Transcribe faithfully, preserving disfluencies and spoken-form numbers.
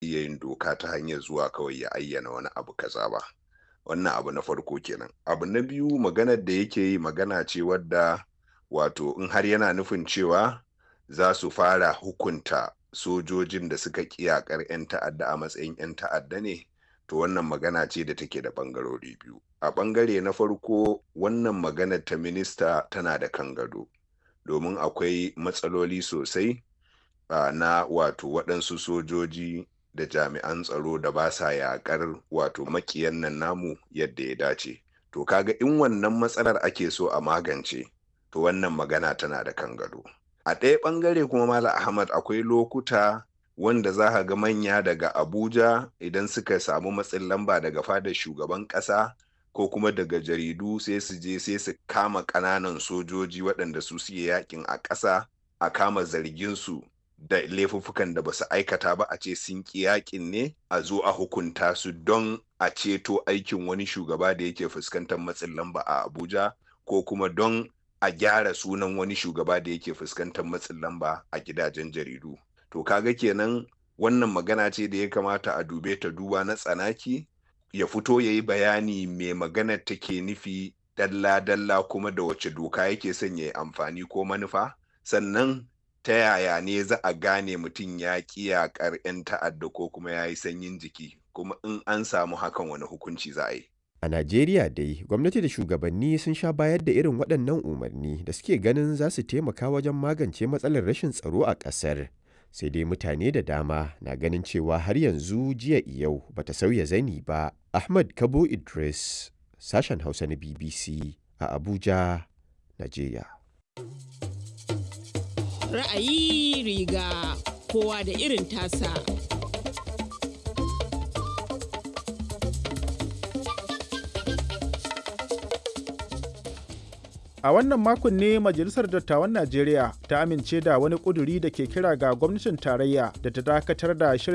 iya yin doka ta hanyar zuwa kawai ya ayyana wani abu kaza ba. Wannan abu na farko kenan. Abu na biyu, maganar da yake yi magana ce wadda wato in har yana nufin cewa za su fara hukunta sojojin da suka ƙi yaƙar 'yan ta'adda a matsayin 'yan ta'adda ne, to wannan magana ce da take da ɓangarori biyu. A ɓangare na farko, wannan maganar ta minista tana da kan gado, domin akwai matsaloli sosai uh, na wato waɗansu sojoji da jami'an tsaro da ba sa yaƙar wato maƙiyan nan namu yadda ya dace. To kaga in wannan matsalar ake so a magance, to wannan magana tana da kan gado. A ɗaya ɓangare kuma, Malam Ahmad, akwai lokuta wanda za ka ga manya daga Abuja idan suka samu matsin lamba daga fadar shugaban ƙasa ko kuma daga jaridu, sai su je sai su kama ƙananan sojoji waɗanda su suke yakin a ƙasa, a kama zargin su da laifuffukan da ba su aikata ba, a ce sun ƙi yakin ne, a zo a hukunta su don a ceto aikin wani shugaba da yake fuskantar matsin lamba a Abuja, ko kuma don a gyara sunan wani shugaba da yake fuskantar matsin lamba a gidajen jaridu. To kaga kenan wannan magana ce da ya kamata a dube ta duba na tsanaki, ya fito ya yi bayani mai maganar take nufi dalla-dalla, kuma da wace doka yake son ya yi amfani ko manufa, sannan ta yaya ne za a gane mutum ya ƙi yaƙar 'yan ta'adda ko kuma ya yi sanyin jiki, kuma in an samu hakan wani hukunci za a yi. A Najeriya dai, gwamnati da shugabanni sun sha bayar da irin waɗannan umarni da suke ganin za su taimaka wajen magance matsalar rashin tsaro a ƙasar. Sai dai mutane da dama na ganin cewa har yanzu jiya yau bata sauya zani ba. Ahmad Kabo Idris, sashen Hausa na B B C a Abuja, Najeriya. Ra'ayi riga kowa da irin tasa. A wannan makon ne Majalisar Dattawan Najeriya ta amince da wani ƙuduri da ke kira ga gwamnatin tarayya da ta dakatar da shirin